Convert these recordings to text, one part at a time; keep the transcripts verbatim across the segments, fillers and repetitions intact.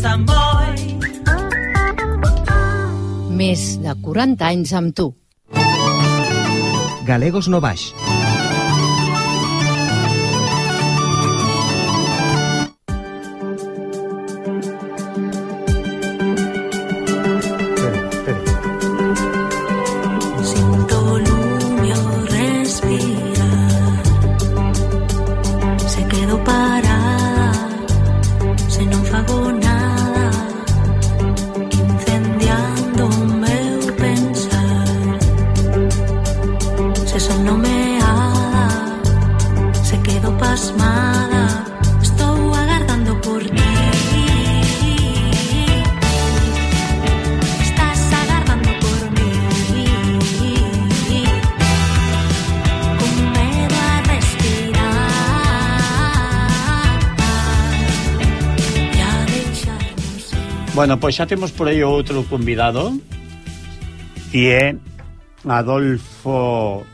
Samboy. Més de quaranta anys amb tu. Galegos no Baix. Bueno, pois xa temos por aí outro convidado, e é Adolfo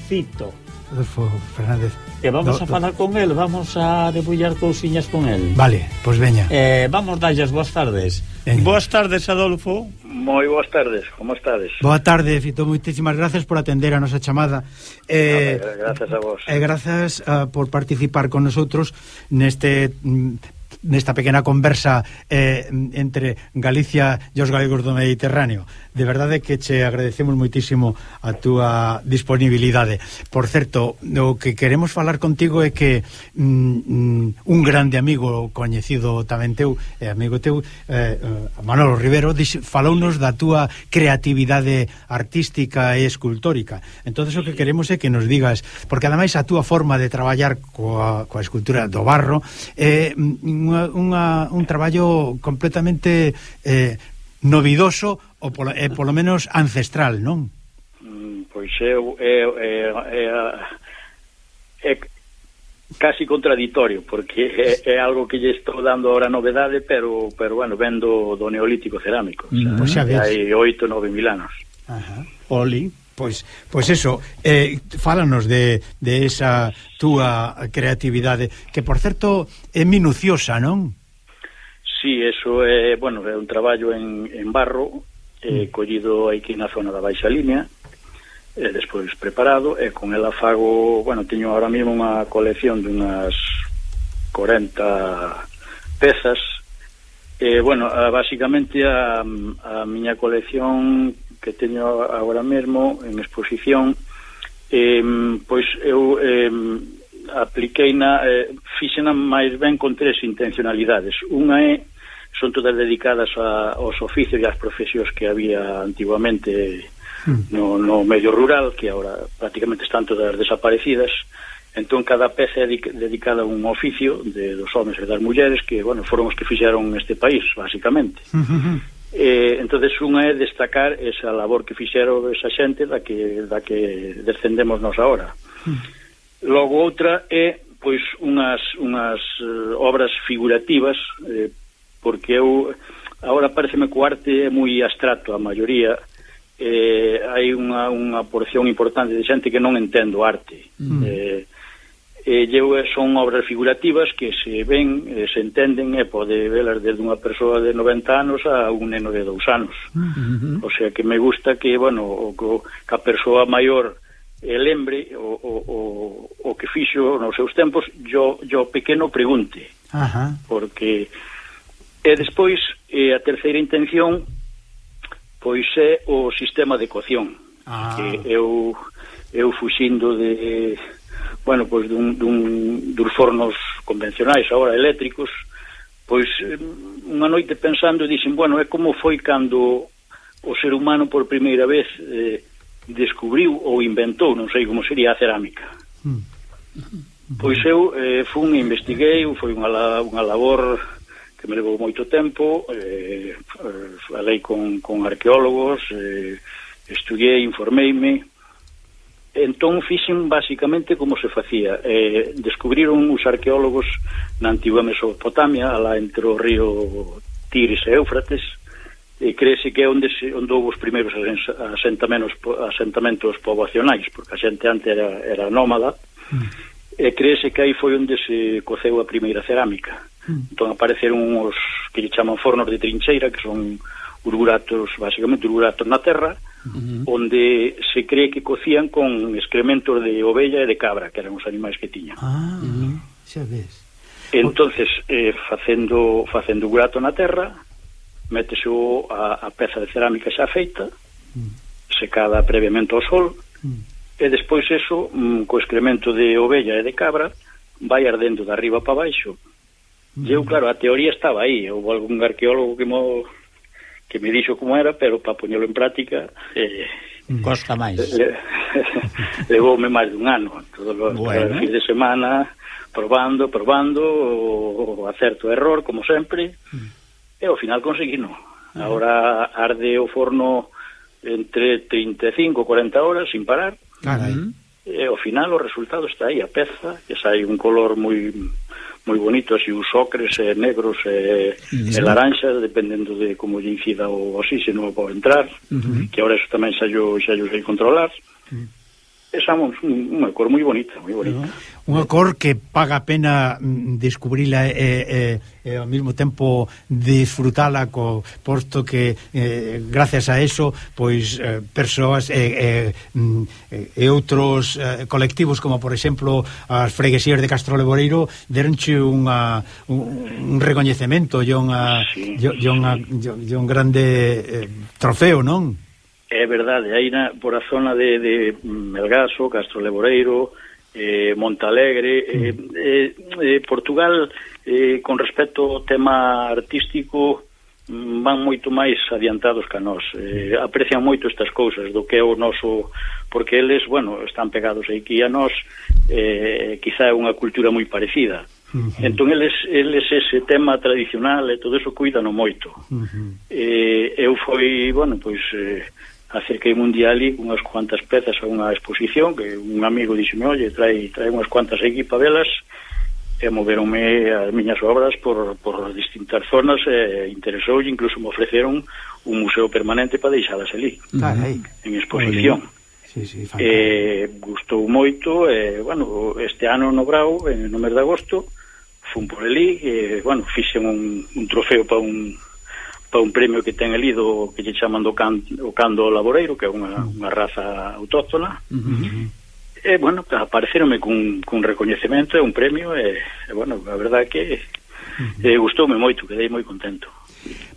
Cito. Adolfo Fernández. E vamos do, a falar do... con el, vamos a debullar cousiñas con el. Vale, pois veña. Eh, vamos dalles boas tardes. Veña. Boas tardes, Adolfo. Moi boas tardes, como estades? Boa tarde, Fito, moitísimas gracias por atender a nosa chamada. Eh, no, gracias a vos. E eh, grazas uh, por participar con nosotros neste... Mm, nesta pequena conversa eh, entre Galicia e os galegos do Mediterráneo. De verdade que che agradecemos moitísimo a túa disponibilidade. Por certo, o que queremos falar contigo é que mm, un grande amigo coñecido tamén teu, eh, amigo teu, eh, Manolo Rivero, falounos da túa creatividade artística e escultórica. Entonces o que queremos é que nos digas, porque ademais a túa forma de traballar coa, coa escultura do barro é eh, Unha, unha, un traballo completamente eh, novidoso ou polo, eh, polo menos ancestral, non? Mm, pois é, é, é, é, é casi contradictorio, porque é, é algo que lle estou dando ahora novedade, pero, pero bueno, vendo do neolítico cerámico, mm, o sea, pues hai oito, nove mil anos. Ajá. Oli. Pois, pois eso, eh, fálanos de, de esa túa creatividade, que por certo é minuciosa, non? Sí, eso é, bueno, é un traballo en, en barro, eh, mm. collido aquí na zona da Baixa Línea, e despois preparado, e con ela fago, bueno, teño ahora mesmo unha colección de unhas corenta pezas, e, bueno, a, basicamente a, a miña colección que teño agora mesmo en exposición, eh, pois eu eh, apliquei na, eh, fixena máis ben con tres intencionalidades. Unha é, son todas dedicadas a, aos oficios e ás profesións que había antiguamente no, no medio rural, que agora prácticamente están todas desaparecidas. Entón cada peza é dedicada a un oficio de, dos homens e das mulleres que, bueno, foron os que fixeron este país, basicamente. Eh, entonces unha é destacar esa labor que fixeron esa xente da que, da que descendemos nós agora. Mm. Logo outra é pois unhas, unhas uh, obras figurativas, eh, porque eu agora pareceme que o arte é moi abstracto, a maioría eh, hai unha, unha porción importante de xente que non entendo arte. Mm. eh, E eu son obras figurativas que se ven, eh, se entenden e pode velas desde unha persoa de noventa anos a un neno de dous anos. Uh-huh. O sea que me gusta que, bueno, o, o, que a persoa maior eh, lembre o, o, o, o que fixo nos seus tempos, yo, yo pequeno pregunte. Uh-huh. Porque e despois eh, a terceira intención pois é o sistema de cocción. Uh-huh. Que eu, eu fuxindo de... bueno, pois dun, dun, dos fornos convencionais agora eléctricos, pois unha noite pensando dixen, bueno, é como foi cando o ser humano por primeira vez eh, descubriu ou inventou, non sei como sería, a cerámica. Mm. Pois eu eh, fun e investiguei, foi unha, unha labor que me levou moito tempo, eh, falei con, con arqueólogos, eh, estudiei, informeime. Entón fixen basicamente como se facía. Eh, descubriron os arqueólogos na antigua Mesopotamia, alá entre o río Tigris e Éufrates, e creese que é onde, se, onde houve os primeiros asentamentos, asentamentos poboacionais, porque a xente antes era, era nómada, mm. e creese que aí foi onde se coceu a primeira cerámica. Mm. Entón apareceron uns que lle chaman fornos de trincheira, que son urguratos, basicamente urguratos na terra, uh-huh. onde se cree que cocían con excrementos de ovella e de cabra, que eran os animais que tiñan. Ah, uh-huh. xa ves. Entonces, eh, facendo facendo urgurato na terra, métese o, a, a peza de cerámica xa feita, uh-huh. secada previamente ao sol, uh-huh. e despois eso, mm, co excremento de ovella e de cabra, vai ardendo de arriba para baixo. Uh-huh. E eu, claro, a teoría estaba aí, houve algún arqueólogo que mo... que me dixo como era, pero para poñelo en práctica eh, costa máis. Le, levoume máis dun ano, todos os bueno. fins de semana probando, probando, o, o acerto error, como sempre, mm. e ao final conseguino. Ah. Ahora arde o forno entre trinta e cinco e cuarenta horas sin parar. Carai. E ao final o resultado está aí, a peza, que sai un color moi moi bonito, así os ocres e negros e, e laranxa, dependendo de como lle incida o oxígeno para entrar, uh-huh. que ahora eso tamén xa yo, xa yo sei controlar. Uh-huh. Esa é unha cor moi bonita, moi bonita. Uh-huh. Unha cor que paga a pena descubrila e, e, e ao mesmo tempo disfrutala, co, posto que eh, gracias a eso pois eh, persoas e, e, e outros eh, colectivos, como por exemplo as freguesías de Castro Leboreiro, deronche unha, un, un recoñecemento e unha, sí, e, e unha, e un grande eh, trofeo, non? É verdade, aí na, por a zona de, de Melgaso, Castro Leboreiro, eh, Montalegre, eh, eh, eh, Portugal, eh, con respecto ao tema artístico, van moito máis adiantados que a nós. Eh, aprecian moito estas cousas do que é o noso, porque eles, bueno, están pegados aquí a nós, eh, quizá é unha cultura moi parecida. Uh-huh. Entón eles, eles ese tema tradicional e todo eso cuidan moito. Uh-huh. eh, eu foi, bueno, pois eh, acerquei un día ali con unhas cuantas pezas a unha exposición, que un amigo dixeme, oye, trae, trae unhas cuantas aquí para velas, e moveronme as miñas obras por, por distintas zonas, e interesou, e incluso me ofreceron un museo permanente para deixalas ali, uh-huh. en exposición. Sí, sí, eh, gustou moito, e, bueno, este ano no Brao, no mes de agosto, fun por ali, e, bueno, fixen un, un trofeo para un para un premio que ten ali do que lle chaman do can, o cando laboreiro, que é unha, unha raza autóctona. Uh-huh. E, bueno, apareceronme cun, cun recoñecemento e un premio, e, e bueno, a verdade que uh-huh. e, gustoume moito, quedei moi contento.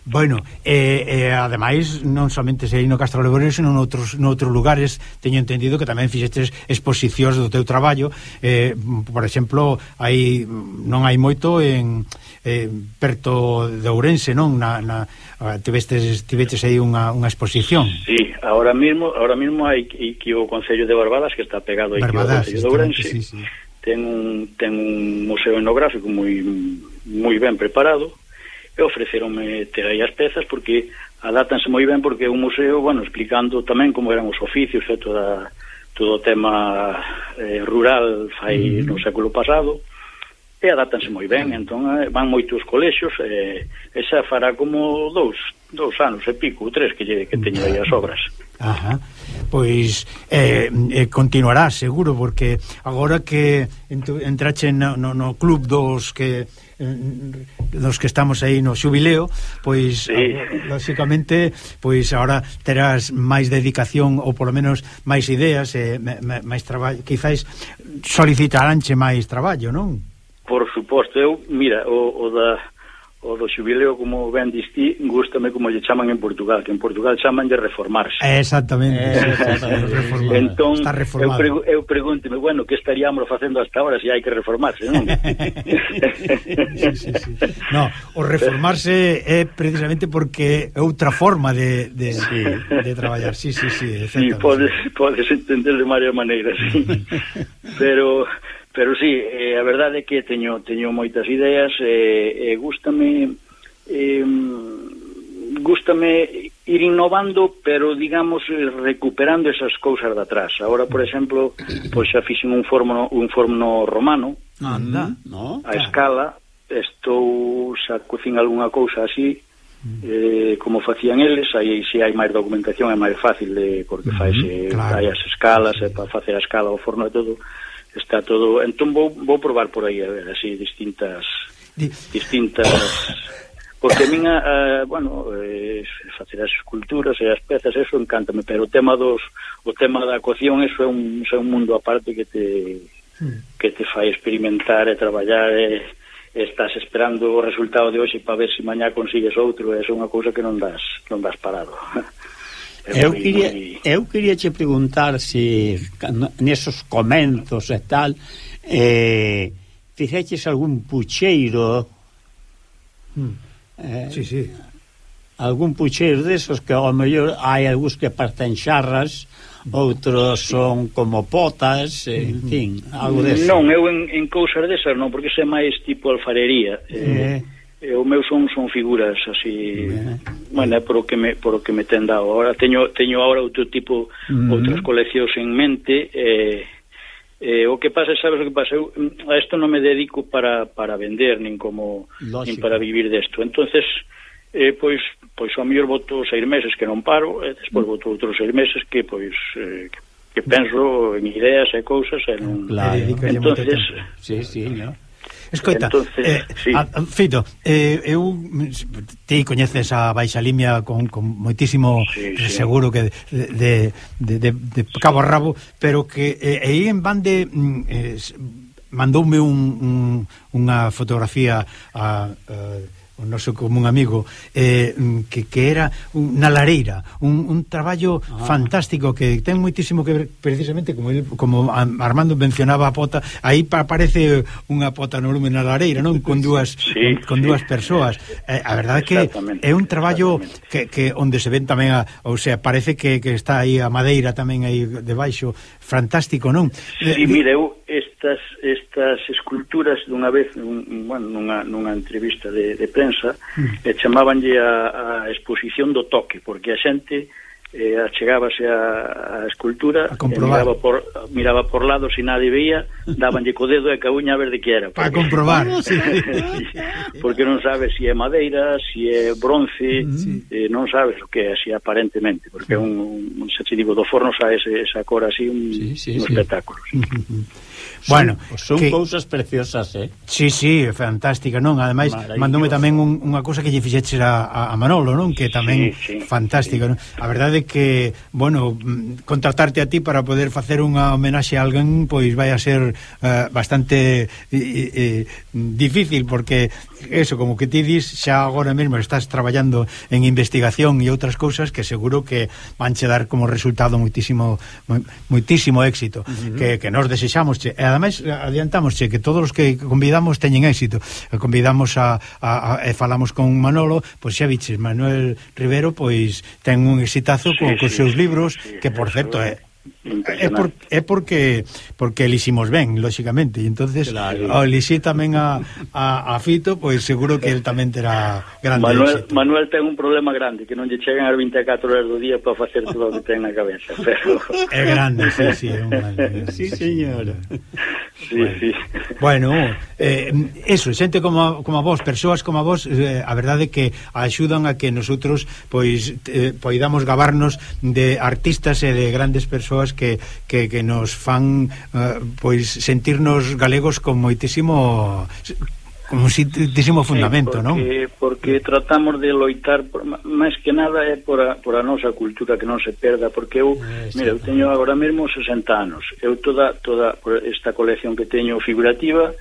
Bueno, e, e ademais non somente sei no Castro Leboreiro, senón noutros, noutros lugares teño entendido que tamén fixestes exposicións do teu traballo, eh, por exemplo, hai non hai moito en eh, perto de Ourense, non? Na, na, tivestes, tiveches aí unha, unha exposición. Sí, ahora mismo ahora mismo hai que o Concello de Barbadas, que está pegado aí Barbadas, ao Concello de Ourense, sí, sí. ten un, ten un museo etnográfico moi moi ben preparado, e ofreceronme ter aí as pezas, porque adátanse moi ben, porque é un museo, bueno, explicando tamén como eran os oficios, e toda, todo o tema eh, rural fai uh-huh. no século pasado, e adátanse moi ben. Entón eh, van moitos colexios, e eh, esa fará como dous, dous anos e pico, tres que, lle, que teño aí as obras. Ajá. Pois eh, eh, continuará seguro, porque agora que entrache no, no, no club dos que dos que estamos aí no xubileo, pois sí. lógicamente, pois agora terás máis dedicación, ou polo menos máis ideas e máis traballo, quizás solicitaránche máis traballo, non? Por suposto, eu, mira, o, o da o do xubileo, como ben distí, gústame como lle chaman en Portugal, que en Portugal chaman de reformarse. Exactamente. Exactamente. Entón, eu, pregu eu pregúnteme, bueno, que estaríamos facendo hasta ahora se hai que reformarse, non? sí, sí, sí. No, o reformarse é precisamente porque é outra forma de, de, sí. de traballar. Sí, sí, sí. Sí, podes, podes entender de varias maneiras, sí. Pero... Pero sí, eh, a verdade é que teño teño moitas ideas, e eh, eh, gústame eh, gústame ir innovando, pero digamos recuperando esas cousas de atrás. Agora, por exemplo, pois xa fixen un forno un forno romano. Anda, no? A escala, estou xa cocín algunha cousa así, eh, como facían eles. Aí se hai máis documentación é máis fácil, de, porque uh-huh, faise claro. Hai as escalas, e para facer a escala o forno e todo. Está todo, entón vou, vou probar por aí a ver así distintas distintas... Porque a min, a, bueno, eh, facer as esculturas e as pezas, eso encántame, pero o tema dos o tema da cocción, eso é un, eso é un mundo aparte que te que te fai experimentar e traballar e, e estás esperando o resultado de hoxe para ver se mañá consigues outro, é unha cousa que non das non das parado. Eu quería, muy... eu quería che preguntar se nesos comenzos e tal eh, fixeches algún pucheiro mm. Eh, sí, sí. algún pucheiro desos que ao mellor hai algúns que parten xarras, outros son como potas, en fin, algo deso. Non, eu en, en cousas desas non, porque sei máis tipo alfarería. Eh, eh, o meu son son figuras así, eh. bueno, é por o que me por o que me ten dado. Ahora teño teño ahora outro tipo, mm. outras coleccións en mente. Eh, Eh, o que pasa, sabes o que pasa, eu a isto non me dedico para, para vender nin como Lógico. nin para vivir desto, entonces eh, pois pois ao mellor voto seis meses que non paro, e despois voto outros seis meses que pois eh, que, que penso en ideas e cousas e non... Claro. Entonces sí, sí, no. Escoita, entonces, eh, sí. a, Fito, eh, eu ti coñeces a Baixa Limia con, con moitísimo sí, sí. seguro que de, de, de, de cabo a rabo, pero que eh, aí en Bande eh, mandoume un, un, unha fotografía a, a o noso común amigo eh, que, que era unha lareira, un, un traballo ah. fantástico que ten moitísimo que ver precisamente como, el, como Armando mencionaba a pota, aí aparece unha pota no lume na lareira, non? Con dúas sí, con, con sí. dúas persoas eh, a verdade que é un traballo que, que onde se ven tamén a, ou sea, parece que, que está aí a madeira tamén aí debaixo, fantástico, non? Sí, eh, mire, eu estas estas esculturas dunha vez un, bueno, nunha, nunha entrevista de, de prensa mm. e chamabanlle a, a exposición do toque, porque a xente eh, achegábase a, a escultura a e miraba por, miraba por lado, se nadie veía, dabanlle co dedo e ca uña a ver de que era. Para comprobar. Sí. Porque non sabes se é madeira, se é bronce, sí. eh, non sabes o que é, así aparentemente, porque é un, un se te digo, do forno xa ese, esa cor así, un, sí, sí, un sí. espectáculo. Sí. Bueno, son, son que, cousas preciosas, eh? Sí, sí, fantástica, non? Ademais, mandoume tamén un, unha cousa que lle fixeches a, a Manolo, non? Que tamén sí, sí, fantástica, sí. Non? A verdade é que, bueno, contratarte a ti para poder facer unha homenaxe a alguén, pois vai a ser uh, bastante eh, eh, difícil, porque eso, como que ti dis, xa agora mesmo estás traballando en investigación e outras cousas que seguro que vanche dar como resultado moitísimo moitísimo éxito, uh-huh. que, que nos desexamos, che. E ademais adiantamosche que todos os que convidamos teñen éxito. Convidamos a, a, a e falamos con Manolo, pois xa viches, Manuel Rivero pois ten un exitazo sí, con, sí, con seus libros, sí, que por certo é é, por, é porque porque eliximos ben, lóxicamente, e entonces claro. Ao elixir tamén a, a, a Fito, pois seguro que el tamén terá grande Manuel, éxito. Manuel ten un problema grande, que non lle chegan as vinte e catro horas do día para facer todo o que ten na cabeza, pero... É grande, sí, sí, é un grande. Sí, señor. Sí, bueno. sí. Bueno, eh, eso, xente como, como a vos, persoas como a vos, eh, a verdade que axudan a que nosotros pois eh, poidamos gabarnos de artistas e de grandes persoas que, que, que nos fan eh, pois sentirnos galegos con moitísimo como moitísimo fundamento, sí, porque, non? Porque tratamos de loitar por, máis que nada é por a, por a nosa cultura, que non se perda, porque eu, eh, mira, eu teño agora mesmo sesenta anos, eu toda toda esta colección que teño figurativa,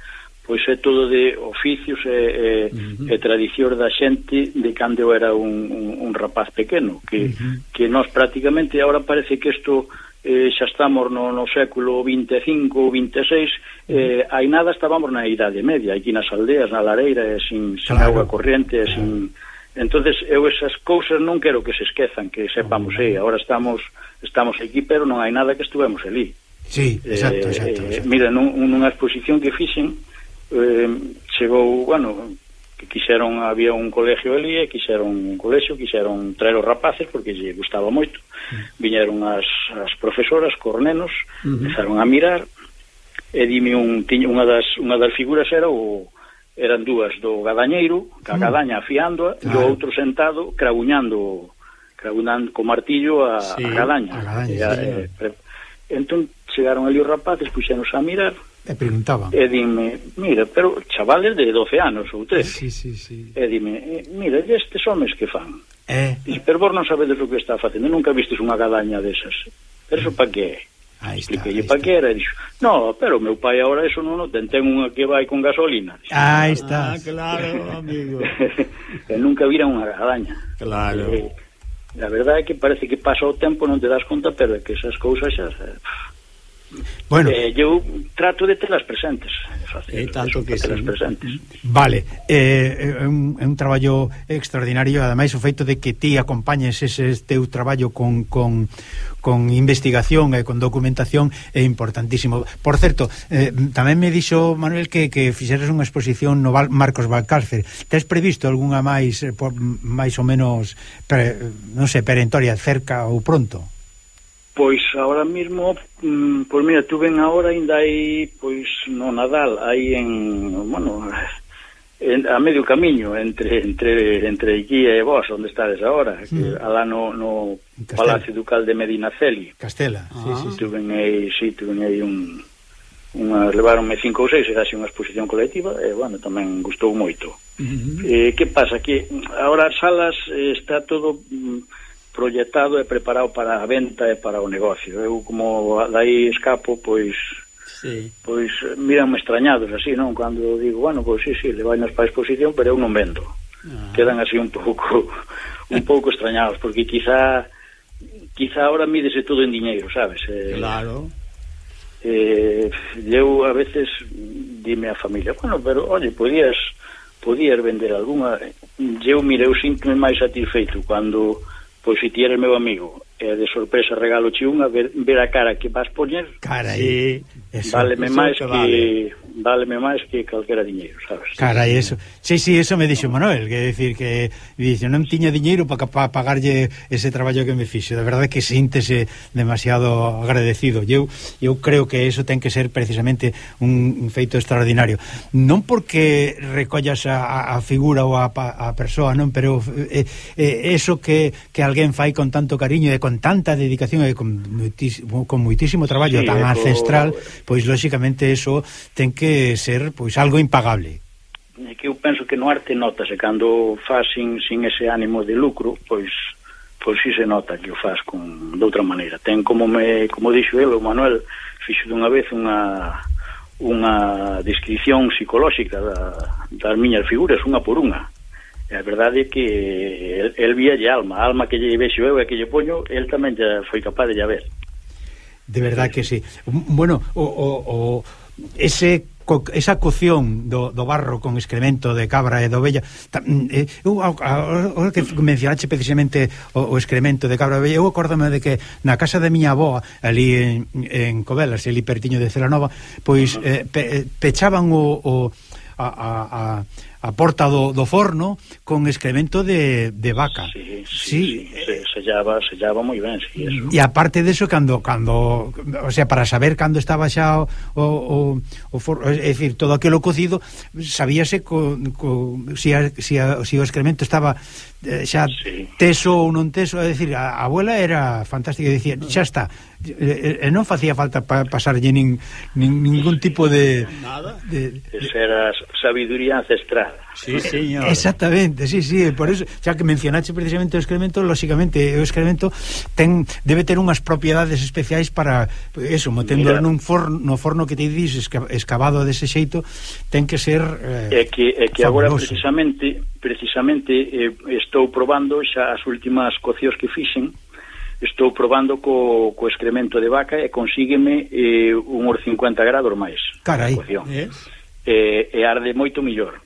pois é todo de oficios e, e, uh-huh. e tradicións da xente de cando eu era un, un, un rapaz pequeno, que, uh-huh. que nós prácticamente agora parece que isto eh, xa estamos no, no século vinte e cinco ou vinte e seis, eh, hai nada estábamos na Idade Media, aquí nas aldeas, na lareira, e sin, sin claro. Auga corriente, e sin... Entonces eu esas cousas non quero que se esquezan, que sepamos, eh, agora estamos estamos aquí, pero non hai nada que estuvemos ali. Sí, exacto, exacto, eh, exacto. Mira, nun, nunha exposición que fixen, eh, chegou, bueno, que quixeron, había un colegio ali, e quixeron un colexio, quixeron traer os rapaces, porque lle gustaba moito. Viñeron as, as profesoras, cornenos, uh-huh. empezaron a mirar, e dime un, tiña, unha das unha das figuras era o eran dúas do gadañeiro, ca gadaña afiándoa, claro. E o outro sentado craguñando craguñando co martillo a, sí, a gadaña. A gadaña, e, sí, eh, pre... Entón chegaron ali os rapaces, puxéronse a mirar, E preguntaban. E dime, mira, pero chavales de doce anos ou trece. Sí, sí, sí. E dime, mira, estes homes que fan? Eh. Dice, pero vos non sabedes o que está facendo, nunca vistes unha gadaña desas. Pero eso pa que é? Aí está, Expliquei pa que era, e dixo, no, pero o meu pai agora eso non o ten, ten unha que vai con gasolina. Dixo, aí está. Ah, claro, amigo. E nunca vira unha gadaña. Claro. E, a verdade é que parece que pasa o tempo, non te das conta, pero é que esas cousas xa... Bueno, eh, eu trato de telas presentes, é tanto que telas sí. presentes. Vale, eh, é un, é un traballo extraordinario, ademais o feito de que ti acompañes ese teu traballo con, con, con investigación e con documentación é importantísimo. Por certo, eh, tamén me dixo Manuel que, que fixeres unha exposición no Val, Marcos Valcárcer. Tes previsto algunha máis eh, por, máis ou menos pre, non sei, perentoria cerca ou pronto? Pois ahora mismo, mm, pois mira, tu ven agora ainda hai, pois no Nadal, aí en, bueno, en, a medio camiño entre entre entre Iguía e vos, onde estades agora, sí. Que alá no, no Palacio Ducal de Medinaceli. Castela, ah. sí, sí, sí. Tuven aí, sí, tuven aí un unha, levaronme cinco ou seis e dase unha exposición colectiva e, bueno, tamén gustou moito. Uh-huh. Eh, que pasa? Que agora as salas eh, está todo... Mm, proyectado e preparado para a venta e para o negocio. Eu como dai escapo, pois sí. Pois miranme extrañados así, non? Cando digo, bueno, pois sí, sí, le vai nas para a exposición, pero eu non vendo. Ah. Quedan así un pouco un pouco extrañados, porque quizá quizá ahora mídese todo en diñeiro, sabes? Eh, claro. Eh, eu a veces dime a familia, bueno, pero oye, podías podías vender algunha. Eu, mire, eu sinto-me máis satisfeito cando pois se ti eres meu amigo e de sorpresa regalo che unha, ver, ver a cara que vas poñer, carai, sí, eso, váleme eso máis que, que vale. váleme máis que calquera diñeiro, sabes? Carai, eso. Sí, sí, eso me dixo Manuel, que decir que dice, non tiña diñeiro para pa pagarlle ese traballo que me fixo. De verdade que síntese demasiado agradecido. Eu eu creo que eso ten que ser precisamente un, un feito extraordinario. Non porque recollas a, a figura ou a, a persoa, non, pero eh, eh, eso que que alguén fai con tanto cariño e con tanta dedicación e con moitísimo, con moitísimo traballo sí, tan ancestral, pois lóxicamente eso ten que ser pois algo impagable. É que eu penso que no arte notase cando faz sin, sin ese ánimo de lucro, pois pois si se nota que o faz con de outra maneira. Ten como me como dixo el, o Manuel fixo dunha vez unha unha descripción psicolóxica da, das miñas figuras, unha por unha. A verdade é que el, el vía lle alma, a alma que lle vexo eu e que lle poño, el tamén já foi capaz de lle ver. De verdade que sí. Bueno, o, o, o ese co, esa cocción do, do barro con excremento de cabra e de ovella, eh, eu agora que mencionaste precisamente o, o excremento de cabra e ovella, eu acórdame de que na casa da miña avó ali en, en Covelas, ali pertiño de Celanova, pois eh, pe, pechaban o, o a, a, a a porta do, do forno con excremento de, de vaca. Sí, sí, sí. sí. Se, sellaba, sellaba moi ben, sí, eso. E aparte deso, cando, cando o sea, para saber cando estaba xa o, o, o forno, é dicir, todo aquilo cocido, sabíase co, co, si, a, si, a, si o excremento estaba eh, xa sí. teso ou non teso, é dicir, a, a abuela era fantástica, dicía, xa está, e, e non facía falta pa, pasarlle nin, nin, ningún tipo de... Nada. De, de, Esa era sabiduría ancestral. Sí, señor. Exactamente, sí, sí, por eso, xa que mencionaste precisamente o excremento, lóxicamente o excremento ten debe ter unhas propiedades especiais para eso, metendo nun forno, no forno que te dices escavado dese xeito, ten que ser eh, é que é que agora precisamente precisamente eh, estou probando xa as últimas cocios que fixen. Estou probando co, co excremento de vaca e consígueme eh, uns cincuenta grados máis. Carai. Yes. E, e arde moito millor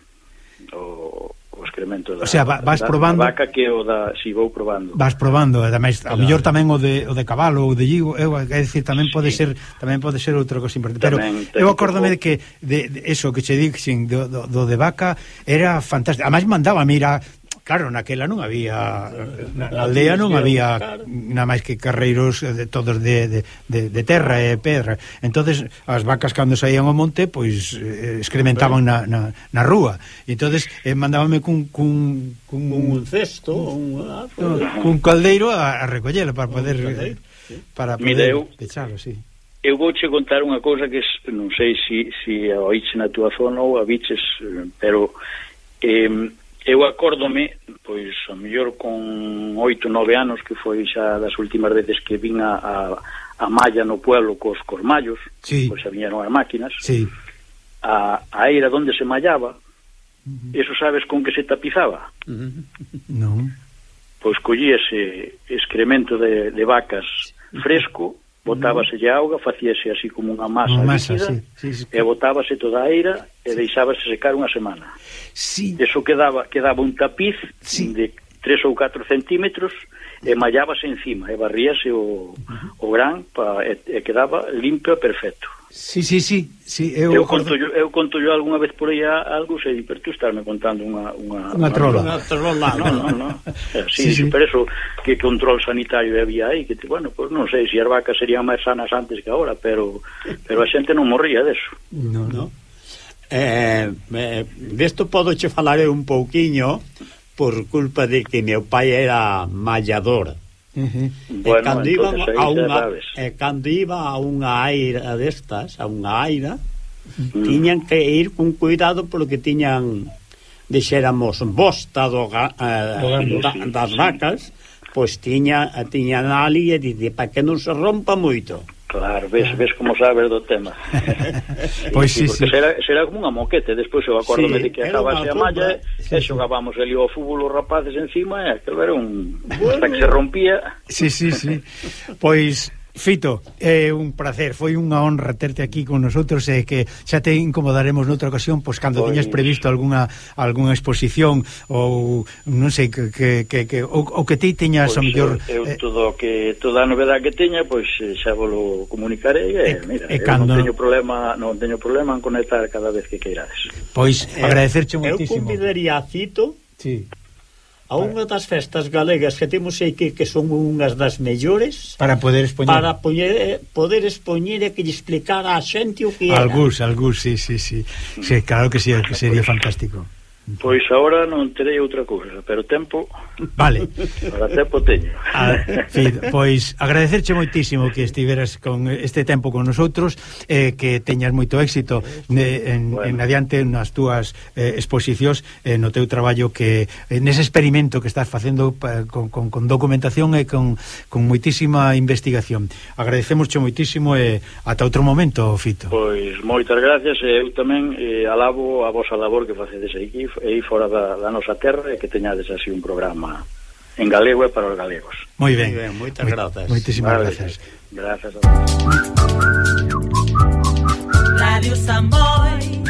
o, o excremento da, o sea, va, vas da, probando da vaca que o da, si vou probando. Vas probando, ademais, claro. A mellor tamén o de, o de cabalo ou de lligo, eu, é dicir, tamén pode sí. ser tamén pode ser outra cosa importante. Pero tamén, eu acórdome de que de, de eso que che dixen do, do, do de vaca era fantástico. Ademais mandaba, mira, claro, naquela non había, na, na aldea non había nada máis que carreiros de, todos de, de, de, de terra e pedra. Entonces as vacas cando saían ao monte, pois eh, excrementaban na, na, na rúa. E entonces eh, mandábame cun, cun, cun, un cesto, un, cun caldeiro a, a recollelo para poder para poder Mira, eu, pechalo, sí. eu vou che contar unha cousa que non sei se si, si a oíche na túa zona ou a viches, pero eh, eu acórdome, pois, a mellor con oito, nove anos, que foi xa das últimas veces que vin a, a, a malla no pueblo cos, cos mallos, sí. Pois xa viñeron as máquinas, sí. a, a eira donde se mallaba, uh-huh. Eso sabes con que se tapizaba? Uh-huh. Non. Pois collíase excremento de, de vacas fresco, botábaselle auga, facíase así como unha masa, masa líquida, sí, sí, sí. E botábase toda a eira e sí. Deixábase secar unha semana. Sí. Eso quedaba quedaba un tapiz sí. De tres ou catro centímetros e mallábase encima e barríase o, uh-huh. o gran pa, e, e quedaba limpio e perfecto. Sí, sí, sí, sí eu, eu, conto yo, eu conto yo algunha vez por aí algo, sei, pero tú estarme contando unha unha, unha trola. Unha trola, non, non, non. Sí, sí, sí. Por eso que control sanitario había aí, que bueno, pues non sei se as vacas serían máis sanas antes que agora, pero pero a xente non morría deso. No, no. Eh, eh, desto podo che falar un pouquiño por culpa de que meu pai era mallador. Uh-huh. Bueno, e cando iba a unha e cando iba a unha aira destas, a unha aira, uh-huh. Tiñan que ir con cuidado porque tiñan dixéramos bosta do, uh, da, das vacas, pois tiña tiñan ali e dice para que non se rompa moito. Claro, ves, ves como sabes do tema. Sí, pois sí, sí, sí. Será, será como unha moquete. Despois eu acórdome sí, de que acabase a malla sí, e xogábamos ali ao fútbol os rapaces encima e aquilo era un... Bueno. Hasta que se rompía. Sí, sí, sí. Pois... Fito, é un placer, foi unha honra terte aquí con nosotros e que xa te incomodaremos noutra ocasión, pois cando pois... tiñas previsto algunha algunha exposición ou non sei que que que, que o, o que ti tiñas pois, o mellor eu, eu todo que toda a novedade que teña, pois xa volo comunicarei e, e mira, e cando... non teño problema, non teño problema en conectar cada vez que queirades. Pois agradecerche moitísimo. Eu convidaría a Fito. Sí. A unha das festas galegas que temos aí que, que son unhas das mellores para poder expoñer para poñer, poder expoñer e que lle explicar a xente o que era. Algús, algús, sí, sí, sí, sí, claro que sí, que sería fantástico. Pois agora non terei outra cousa, pero tempo... Vale. Para tempo teño. A, sí, pois agradecerche moitísimo que estiveras con este tempo con nosotros, eh, que teñas moito éxito ne, en, bueno. en adiante nas túas eh, exposicións, eh, no teu traballo que eh, nese experimento que estás facendo pa, con, con, con documentación e con, con moitísima investigación. Agradecemosche moitísimo e ata outro momento, Fito. Pois moitas gracias e eu tamén eh, alabo a vosa labor que facedes aquí e fora da, da nosa terra e que teñades así un programa en galego e para os galegos. Moi ben, ben moitas grazas. Moitísimas vale, gracias. Gracias a vos. Radio Samboy.